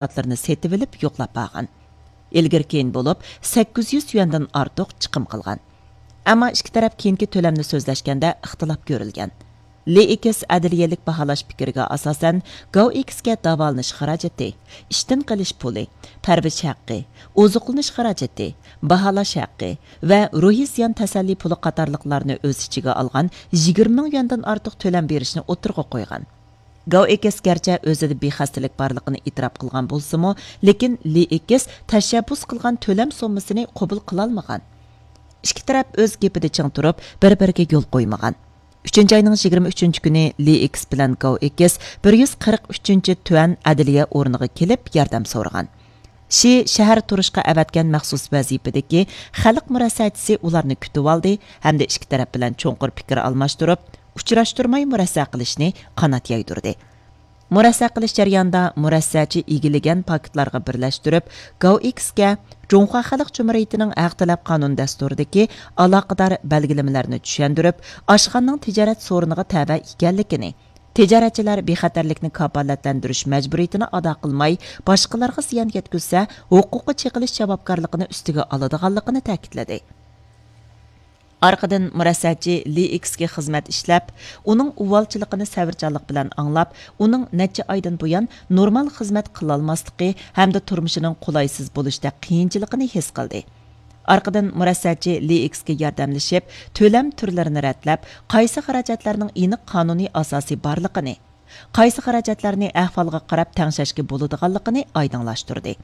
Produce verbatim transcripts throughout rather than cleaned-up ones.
مەھسۇلاتلىرىنى سېتىۋېلىپ يوقلاپ بارغان. ئىلگىرى كېيىن بولۇپ سەككىز يۈز يۈەندىن ئارتۇق چىقىم قىلغان. ئەمما ئىككى تەرەپ كېيىنكى تۆلەمنى سۆزلەشكەندە ئىختىلاپ كۆرۈلگەن. لېئىكس ئەدلىيەلىك باھالاش پىكرىگە ئاساسەن، گاۋ ئېكسكە داۋالىنىش خىراجىتى، ئىشتىن قېلىش پۇلى، پەرۋىش ھەققى، ئوزۇقلىنىش خىراجىتى، باھالاش ھەققى ۋە روھىي زىيان تەسەللى پۇلى قاتارلىقلارنى ئۆز ئىچىگە ئالغان يىگىرمە مىڭ يۈەندىن ئارتۇق تۆلەم بېرىشنى ئوتتۇرىغا قويغان. گاۋ ئېكس گەرچە ئۆزىدە بىخەستىلىك بارلىقىنى ئېتىراپ قىلغان بولسىمۇ، لېكىن لېئىكس تەشەببۇس قىلغان تۆلەم سوممىسىنى قوبۇل قىلالمىغان. ئىككى تەرەپ ئۆز گېپىدە چىڭ تۇرۇپ، بىر-بىرىگە يول قويمىغان. ئۈچىنچى ئاينىڭ يىگىرمە ئۈچىنچى كۈنى لېئىكس بىلەن گاۋ ئېكس بىر يۈز قىرىق ئۈچىنچى تۈەن ئەدلىيە ئورنىغا كېلىپ ياردەم سورىغان. شى شەھەر تۇرۇشقا ئەۋەتكەن مەخسۇس ۋەزىپىدىكى خەلق مۇرەسسەچىسى ئۇلارنى كۈتۈۋالدى ھەمدە ئىككى تەرەپ بىلەن چوڭقۇر پىكىر ئالماشتۇرۇپ، ئۇچراشتۇرماي مۇرەسسە قىلىشنى قانات يايدۇردى. مۇرەسسە قىلىش جەريانىدا مۇرەسسەچى ئىگىلىگەن پاكىتلارغا بىرلەشتۈرۈپ، گاۋ ئېكسكە جۇڭخۇا خەلق جۇمھۇرىيىتىنىڭ ھەق تەلەپ قانۇن دەستۇرىدىكى ئالاقىدار بەلگىلىمىلەرنى چۈشەندۈرۈپ، ئاشخانىنىڭ تىجارەت سورۇنىغا تەۋە ئىكەنلىكىنى، تىجارەتچىلەر بىخەتەرلىكنى كاپالەتلەندۈرۈش مەجبۇرىيىتىنى ئادا قىلماي، باشقىلارغا زىيان يەتكۈزسە، ھوقۇققا چېقىلىش جاۋابكارلىقىنى ئۈستىگە ئالىدىغانلىقىنى تەكىتلىدى. ئارقىدىن مۇرەسسەچى لېئىكسكە خىزمەت ئىشلەپ، ئۇنىڭ ئۇۋالچىلىقىنى سەۋرچانلىق بىلەن ئاڭلاپ، ئۇنىڭ نەچچە ئايدىن بۇيان نورمال خىزمەت قىلالماسلىقى ھەمدە تۇرمۇشىنىڭ قولايسىز بولۇشتەك قىيىنچىلىقىنى ھېس قىلدى. ئارقىدىن مۇرەسسەچى لېئىكسكە ياردەملىشىپ، تۆلەم تۈرلىرىنى رەتلەپ، قايسى خىراجەتلەرنىڭ ئېنىق قانۇنىي ئاساسى بارلىقىنى، قايسى خىراجەتلەرنى ئەھۋالغا قاراپ تەڭشەشكە بولىدىغانلىقىنى ئايدىڭلاشتۇردى.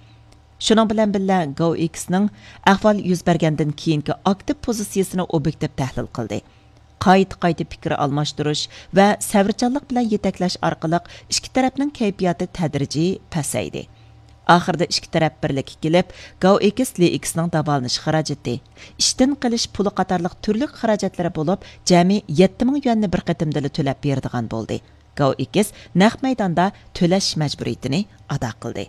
شۇنىڭ بىلەن بىللە، گاۋ ئېكسنىڭ ئەھۋال يۈز بەرگەندىن كېيىنكى ئاكتىپ پوزىتسىيىسىنى ئوبيېكتىپ تەھلىل قىلدى. قايتا-قايتا پىكىر ئالماشتۇرۇش ۋە سەۋرچانلىق بىلەن يېتەكلەش ئارقىلىق ئىككى تەرەپنىڭ كەيپىياتى تەدرىجىي پەسەيدى. ئاخىرىدا ئىككى تەرەپ بىرلىككە كېلىپ، گاۋ ئېكس لېئىكسنىڭ داۋالىنىش خىراجىتى، ئىشتىن قېلىش پۇلى قاتارلىق تۈرلۈك خىراجەتلىرى بولۇپ، جەمئىي يەتتە مىڭ يۈەننى بىر قېتىمدىلا تۆلەپ بېرىدىغان بولدى. گاۋ ئېكس نەق مەيداندا تۆلەش مەجبۇرىيىتىنى ئادا قىلدى.